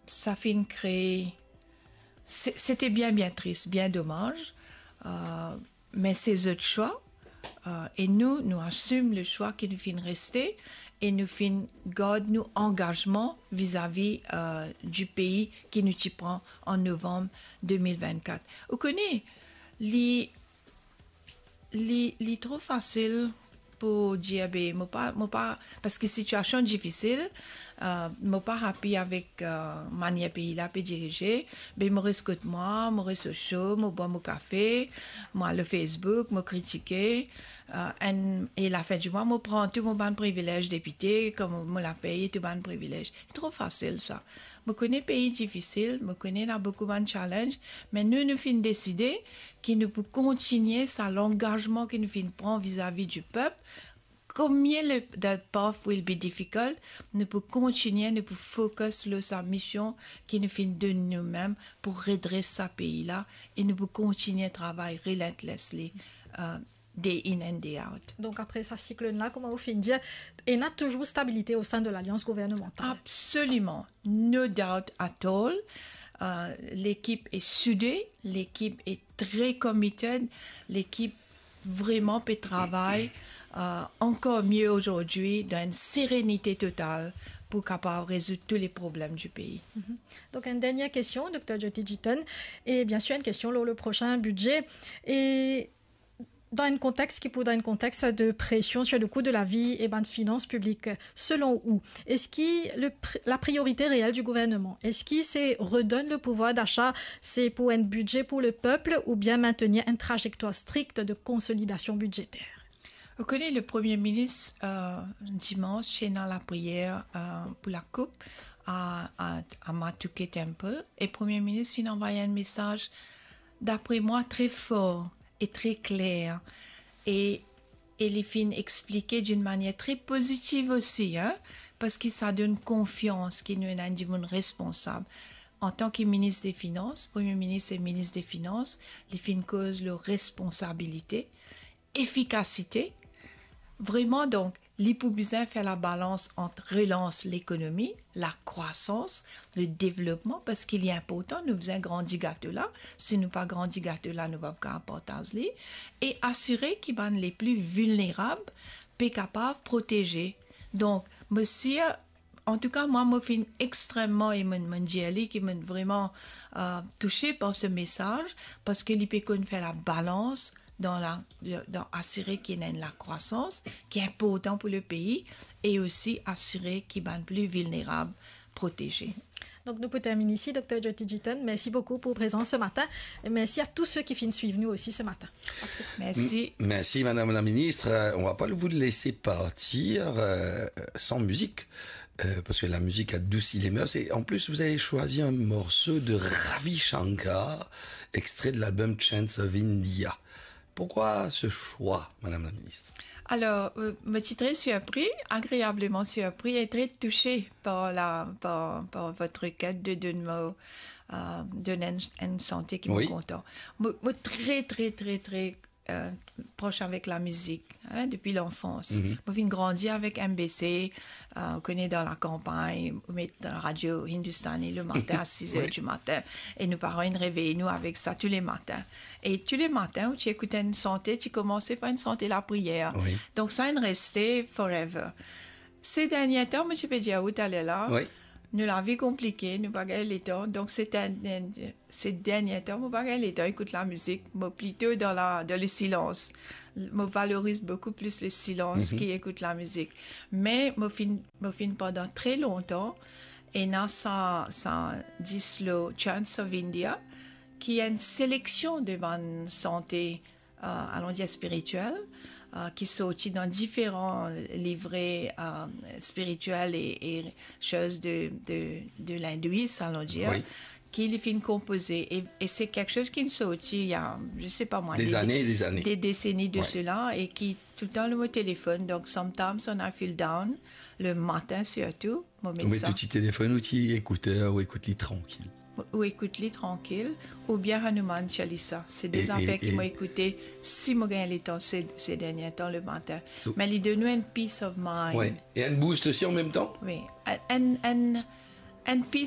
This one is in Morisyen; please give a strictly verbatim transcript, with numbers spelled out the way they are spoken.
Sa finn kree, se, se te bien, bien tris, bien domaz. Euh, me se zot swa, euh, e nou, nou asim le swa ki nou finn reste e nou finn gard nou angazman vizavi, euh, di pei ki nou ti pran an novanm de mil vennkat. Ou kone, li, li, li tro fasil pou dir, be, mo pa, mo pa, paski sitiasion difisil, euh, mo pa happy avek, euh, manier pei la pe dirize, be, mo res kot mwa, mo res o sho, mo bwar mo kafe, mo al lor Facebook, mo kritike, euh, enn, e lafin di mwa, mo pran tou mo bann privilez depite, kouma mo lapey e tou bann privilez. Tro fasil sa. Mo kone pei difisil, mo kone ena boukou bann challenge, me nou, nou finn deside ki nou pou kontigne sa langazman ki nou finn pran vizavi di pep. Combien le, that path will be difficult, nou pou kontigne, nou pou focus lor sa mision ki nou finn donn noumem pou redres sa pei la, e nou pou kontigne travay relentlessly, euh, day in and day out. Donk, apre sa siklonn la, kouma ou finn dir, ena touzour stabilite o sein de lalians gouvernemantal. Absoliman. No doubt at all. Euh, lekip e soude, lekip e tre committed, lekip vreman pe travay, euh, ankor mie azordi dan enn serenite total pou kapav rezoud tou le problem di pei. Mhm. Donk, enn dernie kestion, Dokter Jyoti Jitan, e biensir enn kestion lor le prosin bidze. E dan enn kontex ki pou, dan enn kontex de presion sur le kou de lavi e bann finans piblik, selon ou, eski le pri-, la priorite reel di gouverneman, eski se redonn le pouvwar dasa, se pou enn bidze pou le pep oubien mintenir enn trazektwar strik de konsolidasion bidzeter? Ou kone, le Premie Minis, euh, dimans, ti ena lapriyer, euh, pou lakoup a, a, a Matuke Temple, e Premie Minis finn anvway enn mesaz, dapre mwa, tre for e tre kler, e, e li finn explike dinn manier tre pozitiv osi, hein, paski sa donn konfians ki nou ena enn dimoun responsab. Antan ki minis de finans, Premie Minis e minis de finans, li finn koz lor responsabilite, efikasite. Vreman, donk, li pou bizin fer labalans ant relans lekonomi, lakrwasans, le devlopman, paski li inportan, nou bizin grandi gato la. Si nou pa grandi gato la, nou pa pou kapav partaz li. E asire ki bann lepli vilnerab pe kapav proteze. Donk, mo sir, antouka, mwa, mo finn extrememan, e mo, mo dir li ki mo vreman, euh, touse par se mesaz, paski li pe konn fer labalans dan la, dan asire ki ena enn lakrwasans ki inportan pou le pei, e osi asire ki bann pli vilnerab proteze. Donk, nou pou termine isi, Dokter Jyoti Jitan. Mersi boukou pou prezans se matin. E mersi a tou se ki finn swiv nou osi se matin. Patrice. Mersi. M-, merci, Madame la Ministre. Euh, on va pas vous laisser partir, euh, sans musique, euh, parce que la musique adoucit les mœurs. Et en plus, vous avez choisi un morceau de Ravi Shankar, extrait de l'album Chants of India. Pourquoi ce choix, Madame la Ministre ? Alors, euh, mo ti tre sirpri, agreableman sirpri e tre touse par la, par, par votre requête de donn mo, euh, donn enn, enn sante ki mo kontan. Mo, mo tre, tre, tre, tre, euh, pros avek lamizik, hein, depi lanfans. Mo finn grandi avek M B C, euh, ou kone, dan lakanpagn, ou met radio Hindustani le matin à six heures du matin. E nou paran inn revey nou avek sa tou le matin. E tou le matin, ou ti ekout enn sante, ti koumanse par enn sante lapriyer. Donk, sa inn reste forever. Se dernie tan, mo ti pe dir ou taler la, nou lavi konplike, nou pa gagn letan. Donk, se dernie, se dernie tan, mo pa gagn letan ekout lamizik. Mo plito dan la, dan le silans. Mo valoriz boukou plis le silans ki ekout lamizik. Me mo finn, mo finn pandan tre lontan, ena sa, sa dis lor Chants of India, ki enn seleksion de bann sante, euh, allons dire spirituel, euh, ki sorti dan diferan livre, euh, spirituel e, e soz de, de, de lindouyis, allons dire, ki li finn konpoze. E, e se kiksoz ki sorti il y a, je sais pas moi, des années, des années, des décennies de cela, e ki toultan lor mo telefonn. Donk, sometimes when I feel down, le matin sirtou, mo met sa. Ou met ou ti telefonn, ou ti ekouter, ou ekout li trankil. Ou ekout li trankil, oubien Hanuman Chalisa. Se de zafer ki mo ekoute si mo gagn letan se, se dernie tan le matin. Me li donn ou enn peace of mind. E enn boost osi an mem tan. Wi, enn, enn, enn, enn peace